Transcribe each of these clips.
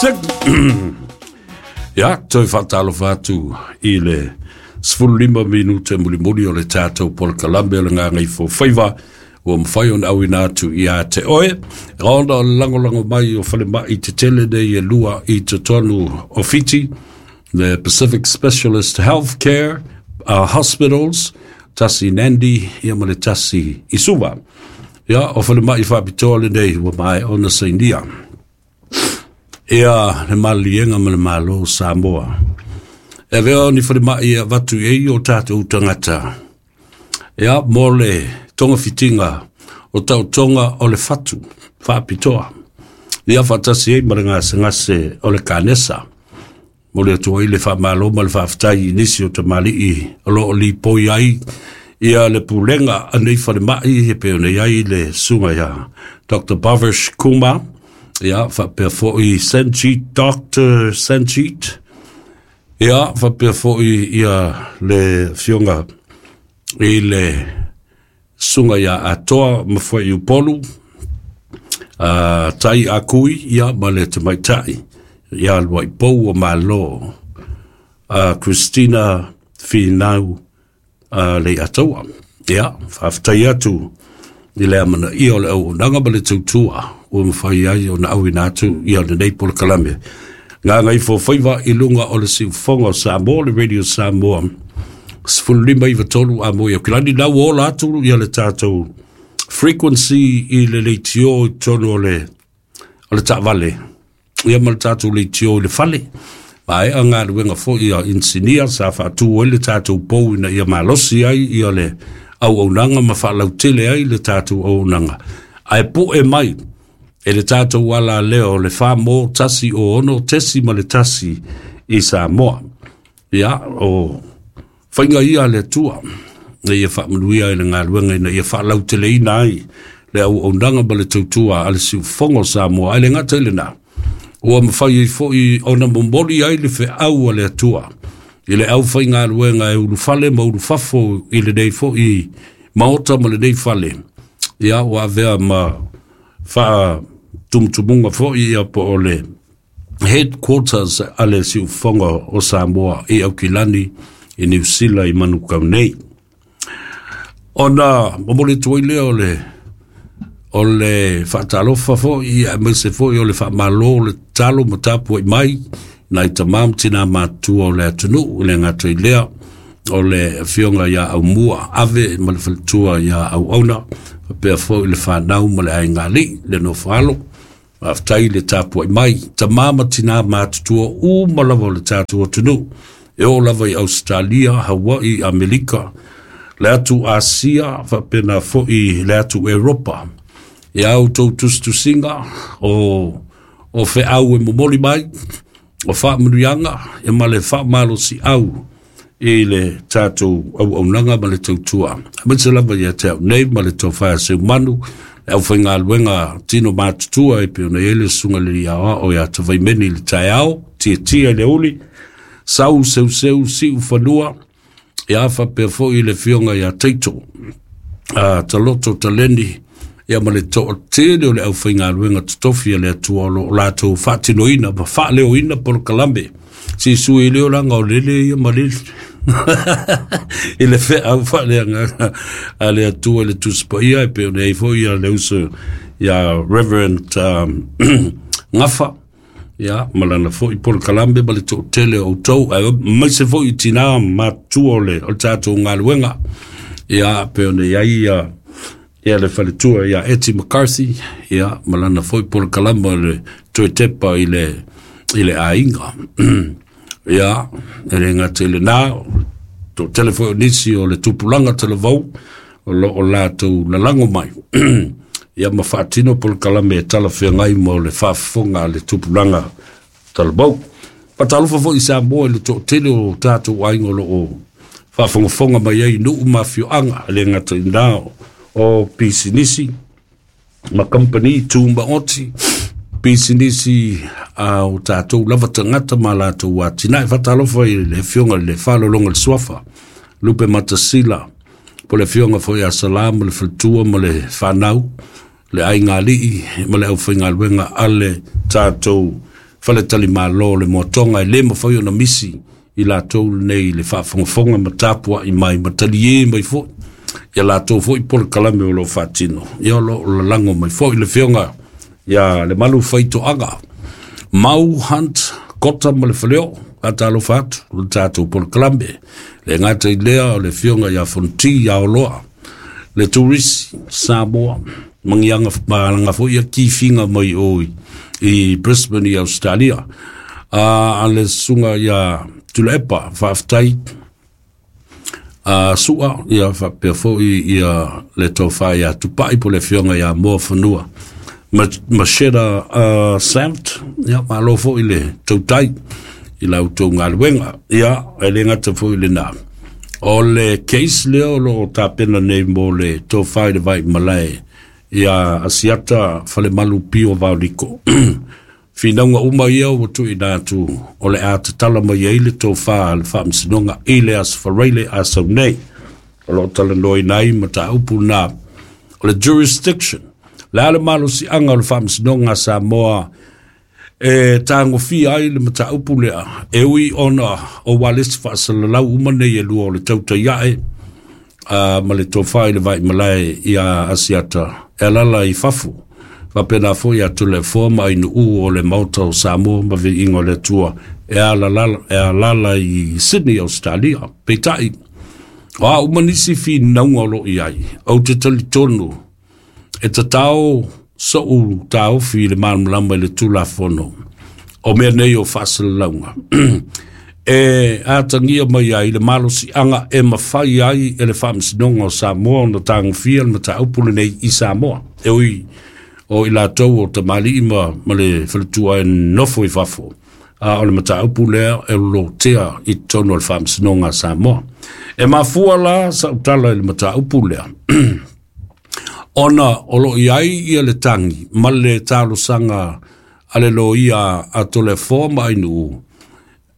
6. Ia, toe faatalofa atu i le 15 minute mulimuli o le tatou polokalame o le Gagaifofaiva ua mafai ona auina atu ia te oe, ona o le lagolago mai o falemai tetele nei e lua i totonu o Fiti, the Pacific Specialist Healthcare Hospitals, tasi Nandi ia ma le tasi i Suva. Ia, o falemai faapitoa lenei ua maea ona sainia ia le maliliega ma le Malo o Samoa. E avea o ni falemai e avatu i ai o tatou tagata, ia, mo le togafitiga o taotoga o le fatu faapitoa. Ia faatasi ai ma le gasegase o le kanesa. Mo le atu ai le faamalo ma le faafetai i nisi o tamalii o lo o lipoi ai ia le pulega a nei falemai e pei ona i ai le susuga ia Dr. Bhavesh Kumar, ia faapea foi Sanjeet, Dr. Sanjeet, ia faapea foi ia le afioga i le susuga ia Atoa Mafuaiupolu, Tai Akui, ia ma le tamaitai ia Luaipou o Malo, Christina Finau Leiataua. Ia, faafetai atu i le amanaia o le auaunaga ma le tautua ua mafai ai ona auina atu ia lenei polokalame Gagaifofaiva i luga o le siufofoga o Samoa, le Radio Samoa 1593 a moi Aukilani. La ua ola atu ia le tatou frequency i le leitio i totonu o le taavale, ia ma le tatou leitio i le fale. Maea galuega foi a inisinia sa faatu ai le tatou pou ina ia malosi ai ia le auaunaga ma faalautele ai le tatou auaunaga. Ae poe mai e le tatou ala lea o le 4 mo 1 o 6.1 i Samoa. Ia, o faiga ia a le Atua, ina ia faamanuia i le galuega ina ia faalauteleina ai le auaunaga ma le tautua a le siufofoga o Samoa. Ae le gata i lena, ua mafai ai foi ona momoli ai le feau a le Atua i le aufaigaluega e ulufale ma ulufafo i lenei foi maota ma lenei fale. Ia, ua avea ma faatumutumuga foi ia po o le headquarters a le siufofoga o Samoa i Aukilani i Niu Sila i Manukau nei. Ona momoli atu ai lea o le faatalofa foi aemaise foi o le faamalo, le tatalo ma tapuai mai nai tamā ma tinā matutua o le atunuu. I le gata i lea o le afioga ia Aumua Ave ma le faletua ia Auauna, faapea foi le fanau ma le aigalii le nofo alo. Faafetai le tapuai mai tamā ma tinā matutua uma lava o le tatou atunuu e oo lava i Ausetalia, Hawaii, Amerika, le atu Asia, faapena foi le atu Eropa. Ia outou tusitusiga o feau e momoli mai o faamanuiaga e ma le faamalosiau i le tatou auaunaga ma le tautua. Aemaise lava ia te au nei ma le tofa a Seumanu, le aufaigaluega tino matutua e pei ona i ai le susuga i le aoao ia Tavaimeni i le taeao, Tietia i le uli, Sau Seuseu Siu Fanua, ia faapea foi le afioga ia Taito, Taloto Taleni, ia ma le toatele o le aufaigaluega totofi a le Atua o lo o latou faatinoina ma faaleoina polokalame. Sisui leo laga o lele ia ma lele i le feau faaleagaga a le Atua i le Tusi Paia e pei ona i ai foi ia le uso ia Reverend Gafa, ia ma lana foi polokalame ma le toatele o outou, aemaise foi i tinā matutua o le tatou galuega, ia pei ona i ai ia le faletua ia Eti McCarthy, ia ma lana foi polokalame o le toe tepa i le aiga. Ia, e le gata i lena, toatele foi o nisi o le tupulaga talavou o lo o latou lalago mai ia ma faatino polokalame e talafeagai mo le faafofoga a le tupulaga talavou. Faatalofa foi i Samoa i le toatele o tatou aiga o lo o faafogafoga mai ai i nuu ma afioaga, e le gata i lena o pisinisi ma kamupani tumaoti, pisinisi a o tatou lava tagata ma latou atinae. Faatalofa i le afioga i le Faalologa le Suafa Lupe Matasila, po le afioga foi ia Sala ma le faletua ma le fanau, le aigalii ma le aufaigaluega a le tatou Faletalimalo o le Moatoga, e le mafai ona misi i latou lenei i le faafogafoga ma tapuai mai ma taliē mai foi ia latou foi polokalame o lo o faatino. Ia o lo o lalago mai foi le afioga ia le Malu Faitoaga Mau Hunt Kota ma le Faleo, faatalofa atu le tatou polokalame. Le gata i lea o le afioga ia Fonoti Aoloa, le turisi Samoa, magiaga malaga foi ia kifiga mai o i Brisbane i Australia. A le susuga ia Tuilaepa, faafetai a sua ia faapea foi ia le tofa ia Tupai po le afioga ia Moa Fanua Macheta Samt, ia malo foi le tautai i la outou galuega. Ia e le gata foi lena, o le case lea o lo o tapena nei mo le tofa i le vai malae ia Asiata Falemalu Pio Vaoliko. Finauga uma ia ua tuuina atu o le a tatala mai ai le tofa a le Faamasinoga i le Aso Faraile a sau nei. O lo o talanoaina ai mataupu na o le jurisdiction. Le a le malosiaga o le Faamasinoga a Samoa e tagofia ai le mataupu lea, e ui ona o ualesi faasalalau uma nei e lua o le tautai ae ma le tofa i le vai malae ia Asiata e alala i fafo. Faapena foi a Toleafoa ma Ainuu o le Maota o Samoa ma Viiga o le Atua e alala i Sydney, Australia. Peitai, o a uma nisi finauga o lo o i ai, ou te talitonu e tatao so'u taofi i le malamalama i le Tulafono o mea nei o faasalalauga e atagia mai ai le malosiaga e mafai ai e le Faamasinoga o Samoa ona tagofia le mataupu lenei i Samoa. E ui o i latou o tamalii ma le faletua e nofo i fafo, a o le mataupu lea e lotea i totonu o le Faamasinoga a Samoa. E mafua la sautala i le mataupu lea ona o lo o i ai ia le tagi ma le talosaga a le loia a Toleafoa ma Ainuu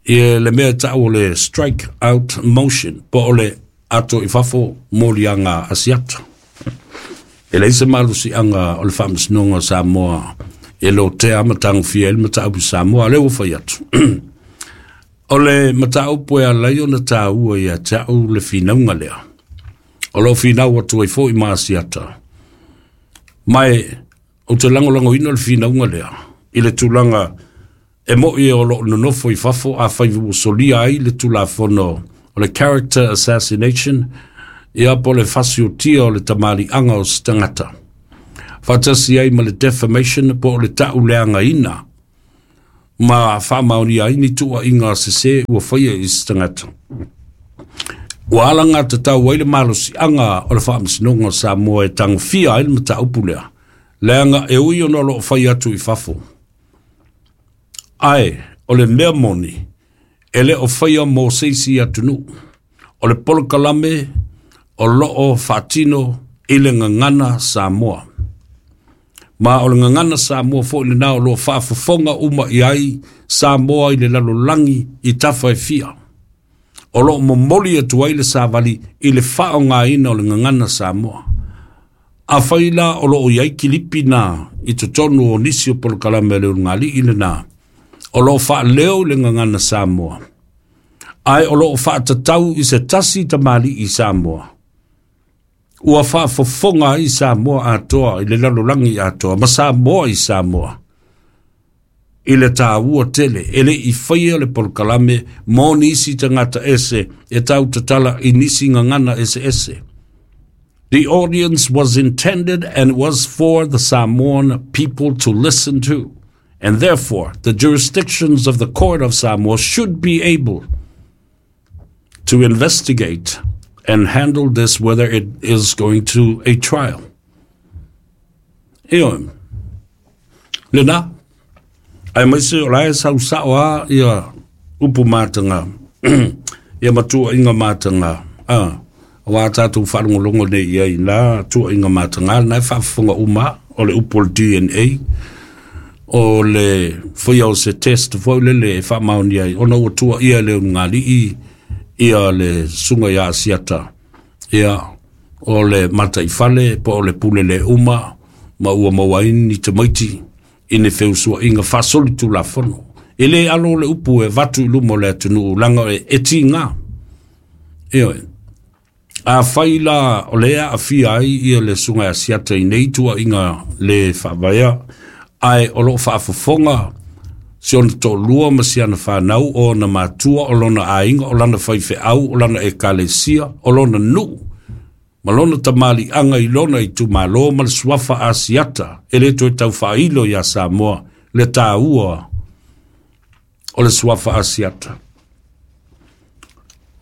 i le mea tau o le strike out motion, po o le ato i fafo moliaga Asiata. E leai se malosiaga o le Faamasinoga o Samoa e lotea ma tagofia ai le mataupu Samoa. Lea ua fai atu. O le mataupu e ala ai ona taua ia te au le finauga lea. O lo o finau atu ai foi ma Asiata. Ma e ou te lagolagoina le finauga lea i le tulaga e moi o lo o nonofo i fafo a fai ua solia ai le Tulafono o le character assassination, ia po le fasiotia o le tamaliiaga o se tagata. Faatasi ai ma le defamation po o le tauleagaina ma faamaonia ai ni tuuaiga sese ua faia i se tagata. Ua alagatatau ai le malosiaga o le Faamasinoga o Samoa e tagofia ai le mataupu lea, leaga e ui ona o lo o fai atu i fafo. Ae o le mea moni, e le o faia mo se isi atunuu. O le polokalame o lo o faatino i le gagana Samoa. Ma o le gagana Samoa foi lena o lo o faafofoga uma i ai Samoa i le lalolagi i tafa e fia. O lo o momoli atu ai le savali i le faaaogaina o le gagana Samoa. Afai la o lo o i ai kilipi na i totonu o nisi o polokalame a le ulugalii lena, o lo o faaleo i le gagana Samoa, ae o lo o faatatau i se tasi tamalii i Samoa, ua faafofoga ai Samoa atoa i le lalolagi atoa ma Samoa i Samoa i le taua tele. E le i faia le polokalame mo nisi tagata ese e tautatala i nisi gagana eseese. The audience was intended and was for the Samoan people to listen to, and therefore the jurisdictions of the Court of Samoa should be able to investigate and handle this whether it is going to a trial. Ioe, lena, aemaise o la e sausao a ia upu mataga, ia matuaiga mataga, a aua tatou faalogologo nei i ai la tuuaiga mataga na e faafofoga uma o le upu o le DNA, o le faia o se test foi lele e faamaonia ai ona ua tuuaia e le ulugalii ia le susuga ia Asiata, ia o le mataifale po o le pule le uma ma ua maua ai ni tamaiti i ni feusuaiga faasolitulafono. E lē alo le upu e avatu i luma o le atunuu laga e tigā. Ioe. Afai la o lea aafia ai ia le susuga ia Asiata i nei tuuaiga le faavaea, ae o loo faafofoga si ona toalua ma si ana fanau, o ona matua, o lona aiga, o lana faifeau, o lana ekalesia, o lona nuu ma lona tamaliiaga i lona itumalo ma le suafa Asiata, e lē toe tau faailo iā Samoa le tāua o le suafa Asiata.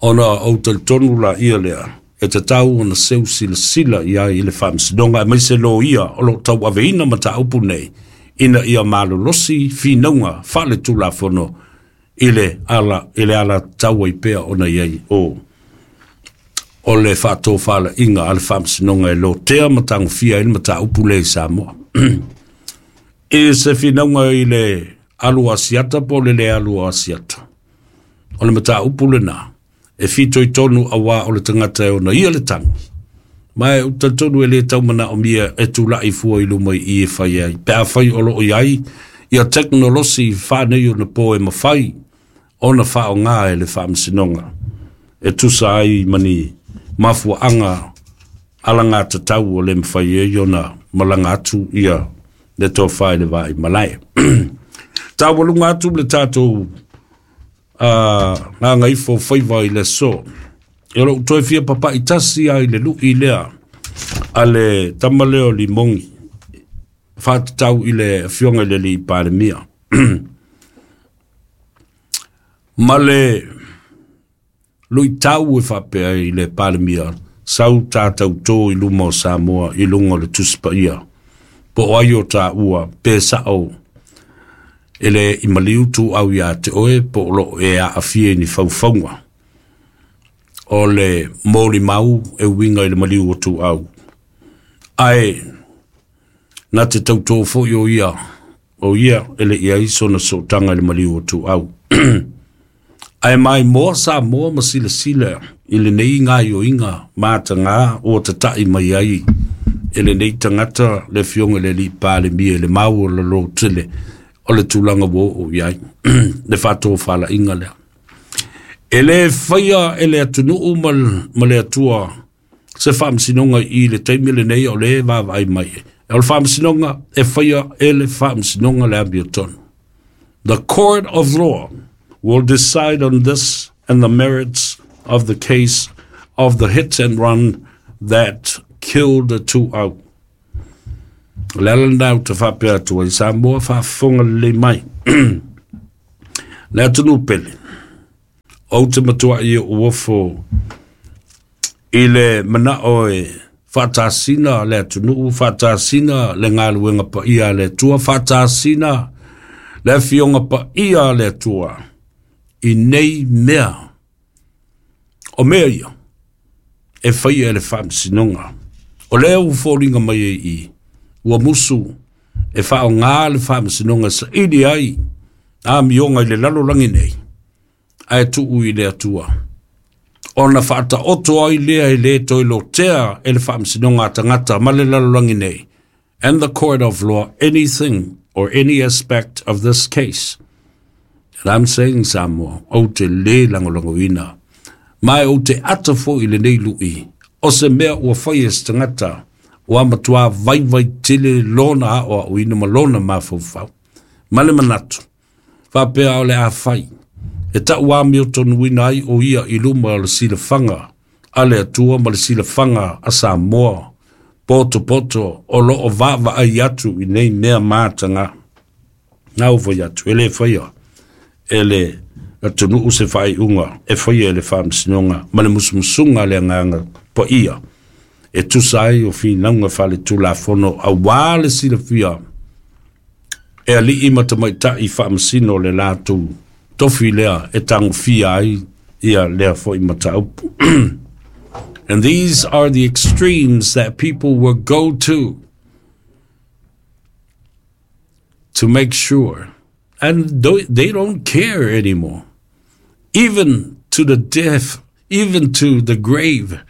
Ona ou talitonu laia lea e tatau ona seu silasila i ai i le faamasinoga, aemaise loia o loo tauaveina mataupu nei, ina ia malolosi finauga faale-tulafono i le ala i le ala tau ai pea ona i ai o le faatofalaiga a le faamasinoga e lotea ma tagofia ai le mataupu lea i Samoa. I se finauga i le alu Asiata po o le le alu o Asiata, o le mataupu lena e fitoitonu, auā o le tagata e ona ia le tagi. Ma e talitonu e lē taumanaomia e tula'i fua i luma i i e fai ai, pe afai o loo i ai ia tekonolosi faanei ona po e mafai ona faaaogā e le faamasinoga e tusa ai ma ni mafuaaga alagatatau o le mafai ai ona malaga atu ia le tofa i le vaimalae. Taualuga atu le tatou gagaifo faiva i le aso. E lou toe fia papa'i tasi ai le lu'i lea a le tama lea o Limogi faatatau i le afioga i le alii Palemia ma le luitau e faapea i le Palemia sau tātautō i luma o Samoa i luga o le Tusi Paia po o ai o tāua pe sa'o e le i maliu tuau iā te oe po o loo e aafia i ni faufauga o le molimau e uiga i le maliu o tuau. Ae na te tautō fo'i o ia e le i ai sona sootaga i le maliu o tuau. Ae maimoa Samoa ma silasila i lenei gaioiga matagā ua tata'i mai ai e lenei tagata le afioga i le alii Palemia i le mau o lalō tele o le tulaga ua oo i ai le faatofalaiga lea. E lē faia e le atunuu ma le Atua se faamasinoga i le taimi lenei o le vaavaai mai. O le faamasinoga e faia e le faamasinoga le amiotonu. The court of law will decide on this and the merits of the case of the hit and run that killed the Tuau. O le ala lena ou te faapea atu ai, Samoa faafofoga lelei mai. Le atunuu pele, ou te matuai ou ofo i le manao e faatasina le atunuu, faatasina le galuega paia a le Atua, faatasina le afioga paia a le Atua i nei mea. O mea ia e faia e le faamasinoga. O lea ua foliga mai ai i ua musu e faaaogā le faamasinoga saili ai amioga i le lalolagi nei, ae tuu i le Atua ona faataoto ai lea e lē toe lotea e le faamasinoga a tagata ma le lalolagi nei and the court of law anything or any aspect of this case. And I'm saying, Samoa, ou te lē lagolagoina ma e ou te ata fo'i i lenei lu'i o se mea ua fai e se tagata ua matuā vaivai tele lona aʻoaʻoina ma lona mafaufau ma le manatu faapea o le a fai e taʻu amiotonuina ai o ia i luma o le silafaga a le Atua ma le silafaga a Samoa potopoto o loo vaavaai atu i nei mea matagā. Na ou fai atu e lē faia e le atunuu se faaiuga, e faia e le faamasinoga ma le musumusuga a le Agaga Paia e tusa ai o finauga faale-tulafono, auā le silafia e alii ma tamaitaʻi faamasino le latou tofi lea e tagofia ai ia lea fo'i mataupu. And these are the extremes that people will go to make sure, and they don't care anymore, even to the death, even to the grave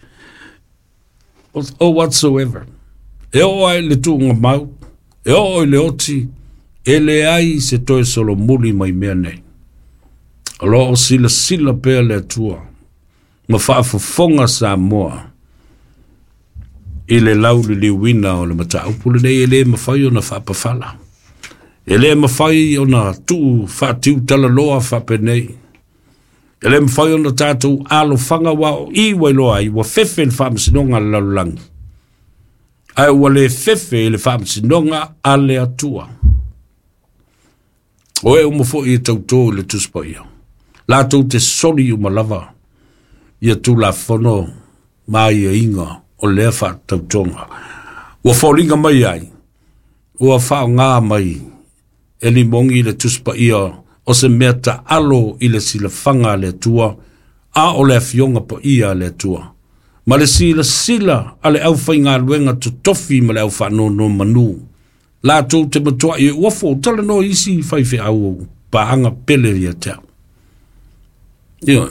or whatsoever. E oo ai le tuuga mau, e oo i le oti. E leai se toe solomuli mai mea nei. O loo silasila pea le Atua ma faafofoga Samoa i le lauliliuina o le mataupu lenei. E lē mafai ona faapafala, e lē mafai ona tuu faatiutalaloa faapenei, e lē mafai ona tatou alofaga ua o i ua iloa ai ua fefe le faamasinoga a le lalolagi, ae ua lē fefe i le faamasinoga a le Atua. O e uma foi e tautō i le Tusi Paia, latou te soli uma lava ia Tulafono ma aiaiga o lea faatautoga. Ua foliga mai ai, ua faaaogā mai e limogi le Tusi Paia o se mea taalo i le silafaga a le Atua, a o le afioga paia a le Atua ma le silasila a le aufaigaluega totofi ma le au faanonomanu latou te matuai e uafo talanoa isi faifeau paaga pele ia te au. Ioe,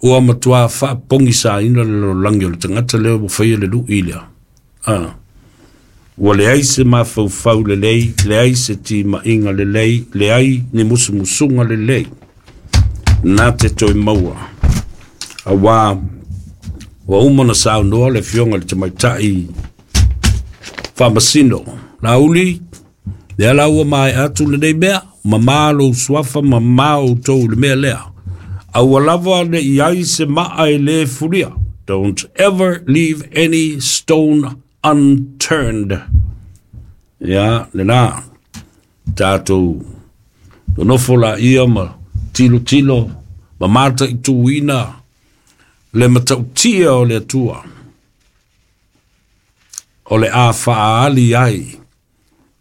ua matua faapogisaina le lalolagi o le tagata lea ua faia le lui lea. Ua leai se mafaufau lelei, leai se timaiga lelei, leai ni musumusuga lelei na te toe maua. Auā ua uma na saunoa le afioga i le tamaitai faamasino Laauli, lea la ua maea atu lenei mea, mamā lou suafa, mamā outou i le mea lea. Aua lava ne i ai se maa e lē fulia. Don't ever leave any stone unturned. Ia, lenā, tatou nonofo laia ma tilotilo ma mataituina le matautia o le Atua o le a faaali ai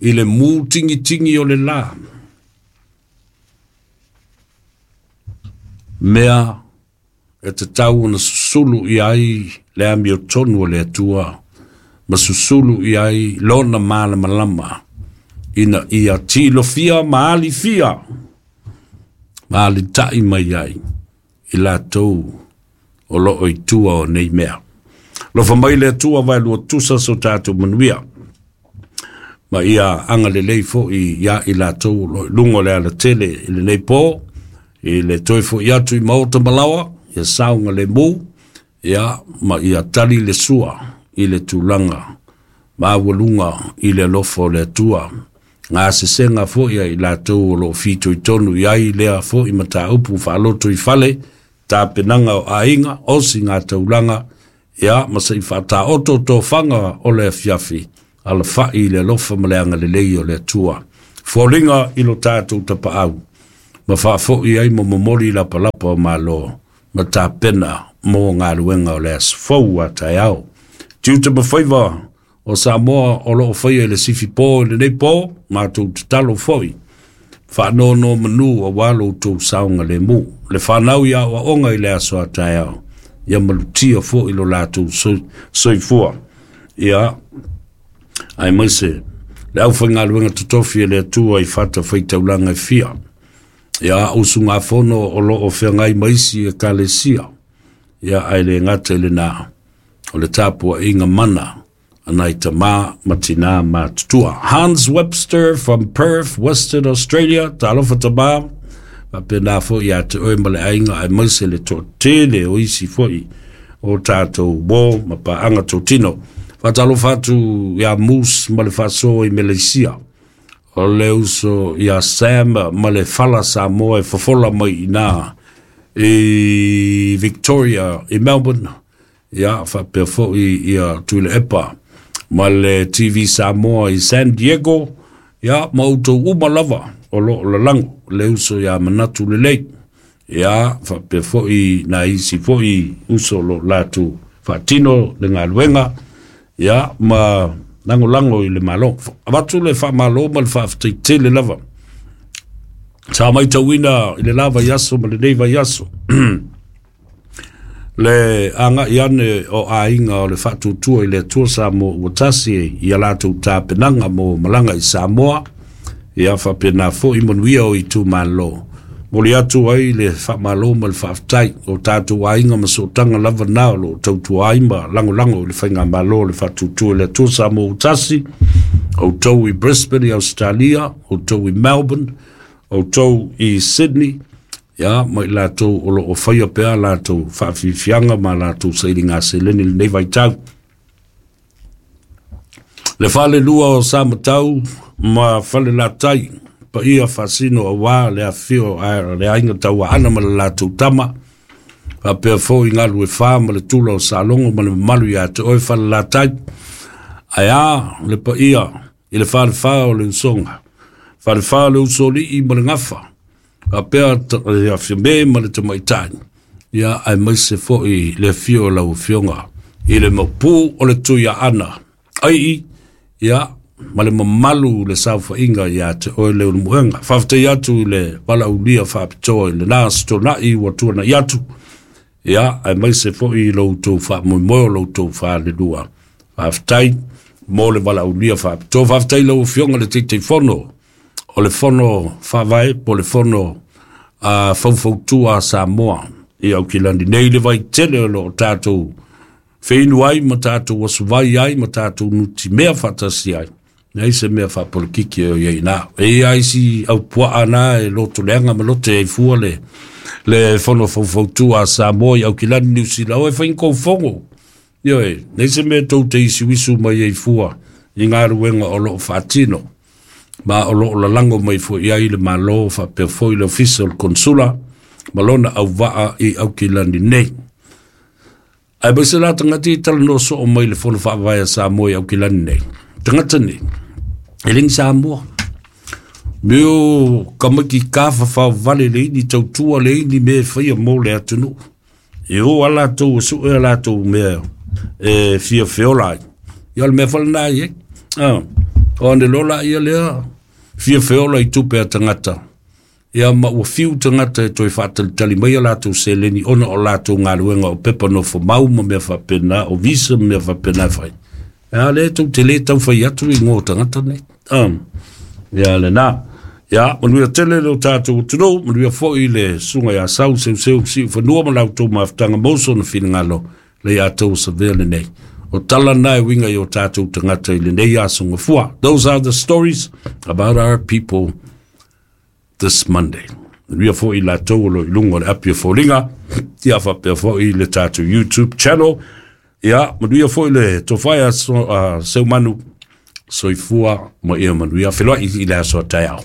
i le mutigitigi o le lā mea e tatau ona susulu i ai le amiotonu o le Atua ma susulu i ai lona malamalama ina ia tilofia ma alifia ma alitai mai ai i latou o loo i tua o nei mea. Lofa mai le Atua vaelua tusa so tatou manuia ma ia agalelei fo'i ia i latou o loo i luga o le alatele i lenei pō i le toe fo'i atu i maota malaoa, ia saogalemu, ia ma ia tali le sua i le tulaga maualuga i le alofa o le Atua. Gasesega foi ai latou o loo fitoitonu i ai lea foi mataupu faaloto i fale, tapenaga o aiga, osiga taulaga, ia ma se i faataoto tofaga o le afiafi, alafai i le alofa ma le agalelei o le Atua. Foliga i lo tatou tapaau, ma faafoi ai ma momoli lapalapa o malo, ma tapena mo galuega o le aso fou a taeao. Tiute ma faiva o Samoa o loo faia i le sifi pō i lenei pō, matou tatalo foi, faanonomanu auā lo outou saogalemu. Le fanau i aoaoga i le aso a taeao, ia malutia foi lo latou soifua. Ia, aemaise le aufaigaluega totofi e le Atua i fata faitaulaga e fia. Ia, usugafono o loo feagai ma isi ekalesia. Ia, ae le gata i lenā, o le tapuaiga mana a nai tamā ma tinā matutua. Hans Webster from Perth, Western Australia, talofa tamā, faapena foi ia te oe ma le aiga aemaise le toatele o isi foi o tatou uō ma paaga totino. Faatalofa atu ia Moose ma le faasoa i Meleisia. O le uso ia Sam ma le fala Samoa e fofola mai inā i Victoria i Melbourne. Ia faapea foi ia Tuilaepa ma le TV Samoa i San Diego. Ia ma outou uma lava o loo lalago le uso ia Manatu Lelei. Ia faapea foi na isi foi uso o loo latou faatino le galuega. Ia ma lagolago i le Malo. Avatu le faamalo ma le faafetai lava. Sa matauina i le la vaiaso ma lenei vaiaso le agai ane o aiga o le Faatuatua i le Atua Samoa ua tasi ia latou tapenaga mo malaga i Samoa. Ia faapena foi manuia o itumalo. Moli atu ai le faamalo ma le faafetai o tatou aiga ma sootaga lava na o loo tautua ai ma lagolago i le faigamalo o le Faatuatua i le Atua Samoa ua tasi. Outou i Brisbane i Australia, outou i Melbourne, outou i Sydney, ia, ma i latou o lo o faia pea latou faafiafiaga ma latou sailiga seleni i lenei vaitau. Le falelua o Samatau ma Falelatai, paia faasino aua le afifio a le aiga Tauaana ma le latou tama, faapea foi Galuefa ma le tula o Salogo ma le mamalu ia te oe Falelatai. Ae a le paia i le falefa o le usoga, falefa o le usolii ma le gafa, faapea le Afime ma le tamaitai, ia aemaise foi le afio o lau afioga i le maupu o le Tuiaana ai, ia, ma le mamalu le saofaiga ia te oe Leulumoega. Faafetai atu i le valaaulia faapitoa i lena Aso Toonai ua tuanai atu, ia, aemaise foi lo outou faamoemoe o lo outou falelua. Faafetai mo le valaaulia faapitoa. Faafetai lau afioga le Taitaifono o le Fono Faavae po o le Fono Faufautua a Samoa i Aukilani nei, le vaitele o lo o tatou feinu ai ma tatou asuvai ai ma tatou nutimea faatasi ai. Nei se mea faapolokiki o iai na. E ia isi au puaa na e loto leaga ma lote ai fua le Fono Faufautua a Samoa i Aukilani Niu Sila. O e whain kou fongo. Ioe, nei se mea tou te isi wisu mai ai fua i ngā ruenga o loo whaatino. Ma o loo lalango mai fua i ai le malo whapea foi le ofisa o le konsula ma lona au waa i Aukilani nei. Ai mai se la tangata i tala no so o mai le Fono Faavae a Samoa i Aukilani nei. Tangata nei, e lengi Samoa. Meo kamaki ka whawhao vale le ini tautua le ini me whaia mō le atunu. E o a latou, su e a latou mea e fia feola ai. Ia o le mea whala nā i e. O ane lola ia lea fia feola i tupe a tangata. Ia ma ua fiu tangata e toe whaatalitali mai a latou seleni ona o latou ngāluenga o pepa no whamau ma mea whapena, o visa ma mea whapena whai. Ia le tau te le tau whai atu i ngō tangata nei. Ia le nā. Ia, manuia tele le o tātou utunou, manuia foi le sunga ia sau, seu seu si uwhanua ma lau tau mafutanga moso na whingalo le ia tau sa vea le nei. O tala nai winga i o tātou tangata i le nei aso ngafua. Those are the stories about our people this Monday. Manuia foi la tau o lo ilunga o le api o fōlinga, ia whapea foi le tātou YouTube channel. Ia, manuia foi le tōwhai a Seumanu, soifua ma ia manuia. Whenua i le aso a tai ao.